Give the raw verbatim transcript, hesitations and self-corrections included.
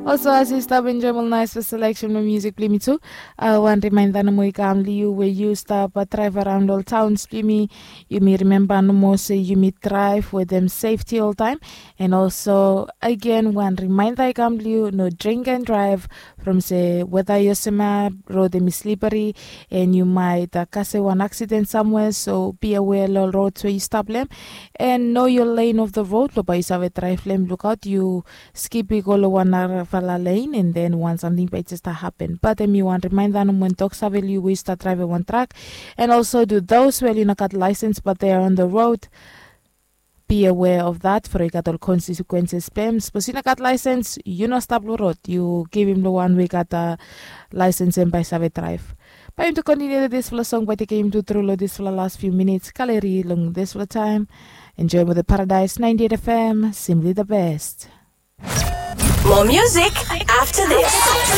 Also, as yu stap enjoim ol nais seleksen blong musik blong yumi tu, wan rimainda nomo i kam long yu we yu stap draiv araon ol taons blong yumi. Yumi rimemba nomo se yumi draiv wetem sefti oltaem. And also, agen, wan rimainda i kam long yu, no drink and drive. From se weda yu olsem ya, rod hemi sliperi, and yu maet kasem wan aksiden samwea. So be aware long ol rods we yu stap long hem, and know your lane of the road, long bae yu save draiv long hem. Lukaot yu skip i go long wan narafala lane, and then wan samting bae i jes stap hapen. Bat hemi wan rimainda nomo, wan tok save long yu we yu stap draivim wan trak. And also, to those we oli no gat laesens but they are on the road, be aware of that, from i gat ol konsekuenses blong hem. Sapos yu no gat laesens, yu no stap long rod, yu givim long wan we i gat laesens, hem bae i save draev. Bae yumi tu kontiniu long disfala song bae i tekem yumi tu tru long disfala las fiu minits. Galeri long disfala taem. Enjoem wetem Paradise ninety-eight F M, simply the best. More music after this.